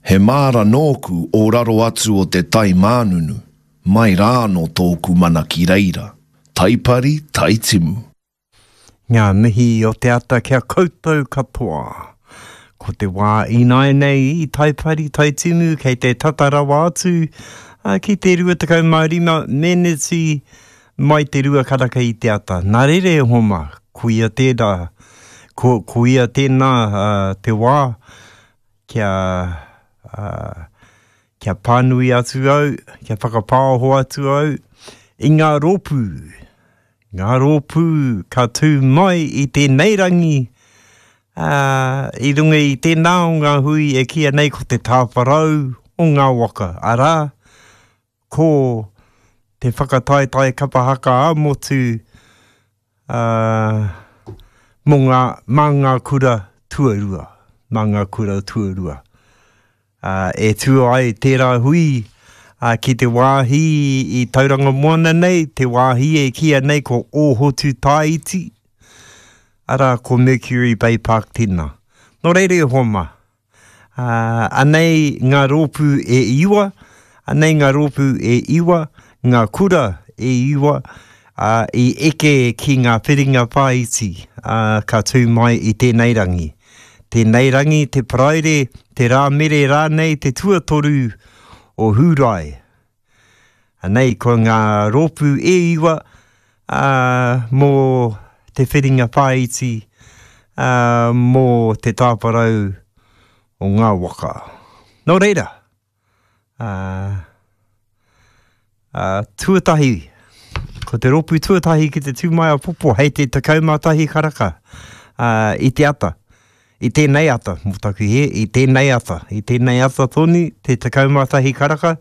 He māra nōku o raro atu o te tai mānunu, mai rā anō tōku mana ki reira, Taipari, Taitimu. Ngā mihi o te ata ki a koutou katoa. Ko te wā ināianei i Taipari, Taitimu kei te tata rawa atu ki te 25 meneti mai te rua karaka i te ata. Nā reira e hoa mā, koia tērā, ko, koia tēnā te wā kia, kia pānui atu au, kia whakapāoho atu au i ngā rōpū, ngā rōpū ka tū mai i tēnei rangi, ā, i runga i tēnā o ngā hui e kīia nei ko te tāwharau o ngā waka, arā, ko te whakataetae kapa haka ā-motu, ā, mō ngā, mā ngā kura tuarua, mā ngā kura tuarua. Ā, e tū ai tērā hui, ā, ki te wāhi i Tauranga Moana nei, te wāhi e kīia nei ko Ōhotu Tāiti, arā, ko Mercury Bay Park tēnā. Nō reira e hoa mā, Ā, anei ngā rōpū e iwa, anei ngā rōpū e iwa, ngā kura e iwa, ā, i eke ki ngā whiringa whāiti, ā, ka tū mai i tēnei rangi. Tēnei rangi, te Paraire, te Rāmere rānei, te tuatoru o Hūrae. Anei ko ngā rōpū e iwa, ā, mō te whiringa whāiti, ā, mō te tāwharau o ngā waka. Nō reira, ā, ā, tuatahi, ko te rōpū tuatahi ki te tū mai apopo hei te 11 karaka, ā, i te ata. I tēnei ata, mō taku hē, i tēnei ata, i tēnei ata tonu, te 11 karaka,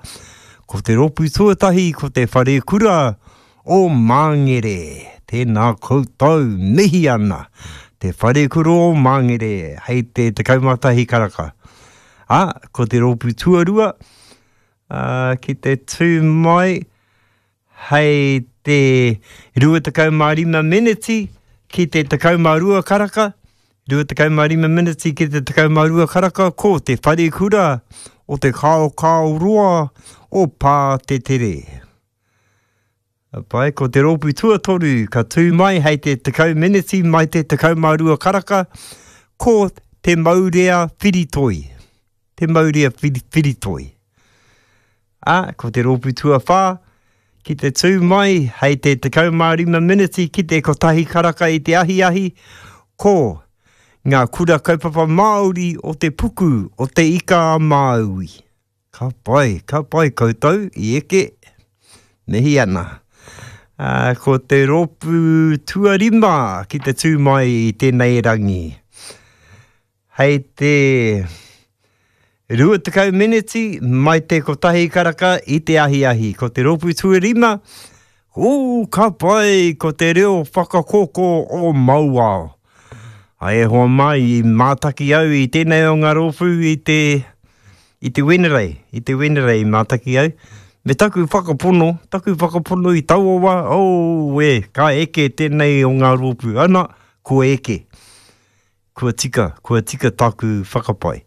ko te rōpū tuatahi ko te Wharekura o Māngere. Tēnā koutou, mihi ana, te Wharekura o Māngere, hei te 11 karaka. Ā, ko te rōpū tuarua, ā, ki te tū mai, Hei te 25 meneti ki te 12 karaka, 25 meneti ki te 12 karaka ko te wharekura o te Kaokaoroa o Pātetere. Pai, ko te rōpū tuatoru ka tū mai hei te 10 meneti mai te 12 karaka ko Te Maurea Whiritoi. Te Maurea Whiritoi. Ā, ko te rōpū tuawhā, ki te tū mai hei te 15 meneti ki te kotahi karaka i te ahiahi, ko Ngā Kura Kaupapa Māori o te Puku o Te Ika a Māui. Ka pai, ka pai koutou i eke, mihi ana. Ā, ko te rōpū tuarima ki te tū mai i tēnei rangi. Hei te 20 meneti mai te kotahi karaka i te ahiahi. Ko te rōpū tuarima, ū, ka pai, ko te reo whakakōkō o Mauao. Ai e hoa mā, i mātaki au i tēnei o ngā rōpū i te, i te Wenerei, i te Wenerei i mātaki au. Me taku whakapono, taku whakapono i taua wā, oh, e, ka eke tēnei o ngā rōpū. Ana, kua eke. Kua tika, kua tika tāku whakapae.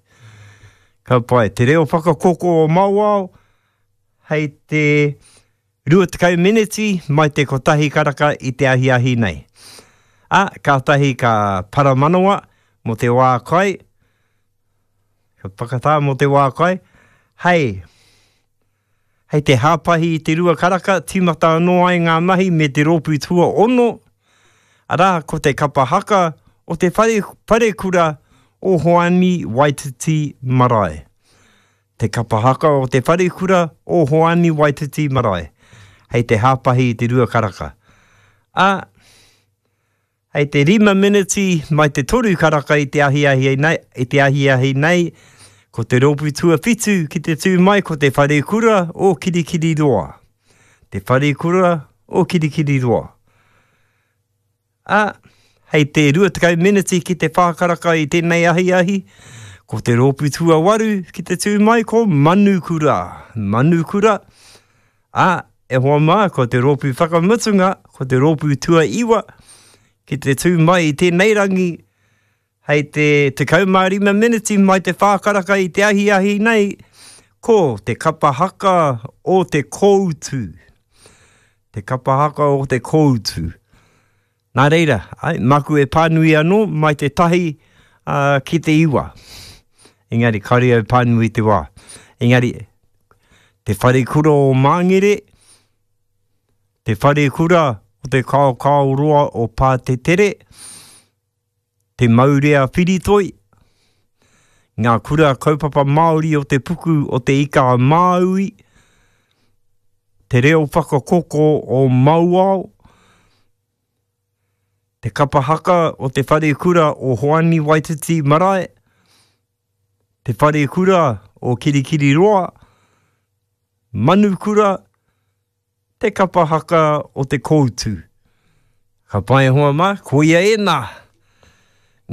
Ka pai. Te reo whakakoko o Mauao, hei te 20 meneti mai te kotahi karaka i te ahiahi nei. Ā, kātahi ka paramanawa mō te wā kai, ka whakatā mō te wā kai, hei Hei te hāpahi i te rua karaka, tīmata anō ai ngā mahi me te rōpū tuaono, arā, ko te kapa haka o te whare, wharekura o Hoani Waititi Marae. Te kapa haka o te wharekura o Hoani Waititi Marae, hei te hāpahi i te rua karaka. Ā, Hei te rima meneti mai te toru karaka i te ahiahi nei, i te ahiahi nei, ko te rōpū tuawhitu ki te tū mai ko te Wharekura o Kirikiriroa. Te Wharekura o Kirikiriroa. Ā, hei te 20 meneti ki te whā karaka i tēnei ahiahi, ko te rōpū tuawaru ki te tū mai ko Manukura. Manukura, Ā, e hoa mā, ko te rōpū whakamutunga, ko te rōpū tuaiwa, ki te tū mai i tēnei rangi, hei te 15 meneti mai te whā karaka i te ahiahi nei, ko te kapa haka o te kōutu. Te kapa haka o te kōutu. Nā reira, ai, māku e pānui anō mai te tahi uh, ki te iwa. Engari, kāore au pānui te wā. Engari, te wharekura o Māngere, te wharekura o te Kaokaoroa o Pātetere, te Maurea Whiritoi, ngā kura kaupapa Māori o te puku o te Ika a Māui, te reo whakakoko o Mauao, te kapa haka o te wharekura o Hoani Waititi Marae, te wharekura o Kirikiriroa, Manukura, te kapa haka o te koutu. Ka pai e hoa mā, koia ēnā.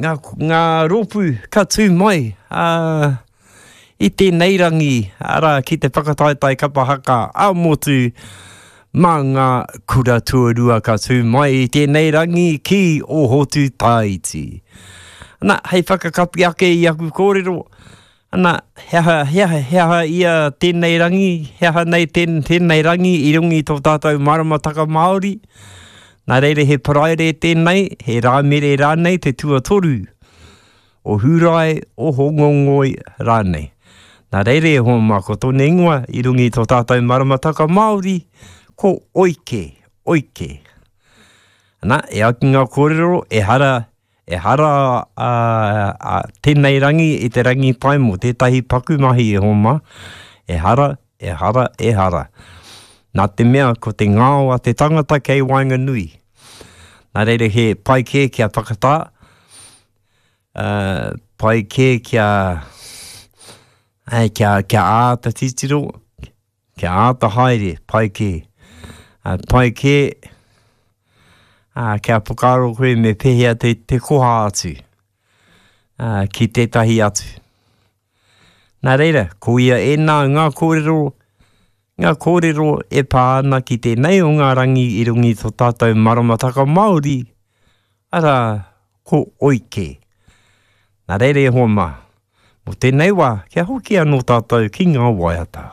Ngā, ngā rōpū ka tū mai ā, i tēnei rangi, arā, ki te whakataetae kapa haka ā-motu mā ngā kura tuarua ka tū mai i tēnei rangi ki Ōhotu Tāiti. Ana, hei whakakapi ake i aku kōrero, Ana, he aha, he aha, he aha ia tēnei rangi, he aha nei tēn, tēnei rangi i runga i tō tātou maramataka Māori? Nā reira he Paraire tēnei, he Rāmere rānei te tuatoru, o Hūrae, o Hōngongoi rānei. Nā reira e hoa mā, ko tōna ingoa i runga i tō tātou maramataka Māori, ko Oike, Oike. Ana, e ai ki ngā kōrero, ehara Ehara a, a tēnei rangi i te rangi pai mō tētahi paku mahi e homa. Ehara, ehara, ehara. Nā te mea ko te ngao a te tangata kei waenganui. Nā reira he pai kē kia whakatā, uh, pai kē kia, ai, kia, kia āta titiro, Kia āta haere, pai kē. Ā, pai kē, ā, kia whakaaro koe me pēhea te, te koha atu, ā, ki tētahi atu. Nā reira, ko ia ēnā ngā kōrero, ngā kōrero e pā ana ki tēnei o ngā rangi i runga i tō tātou maramataka Māori, arā, ko Oike. Nā reira e hoa mā, mō tēnei wā, kia hoki anō tātou ki ngā waiata.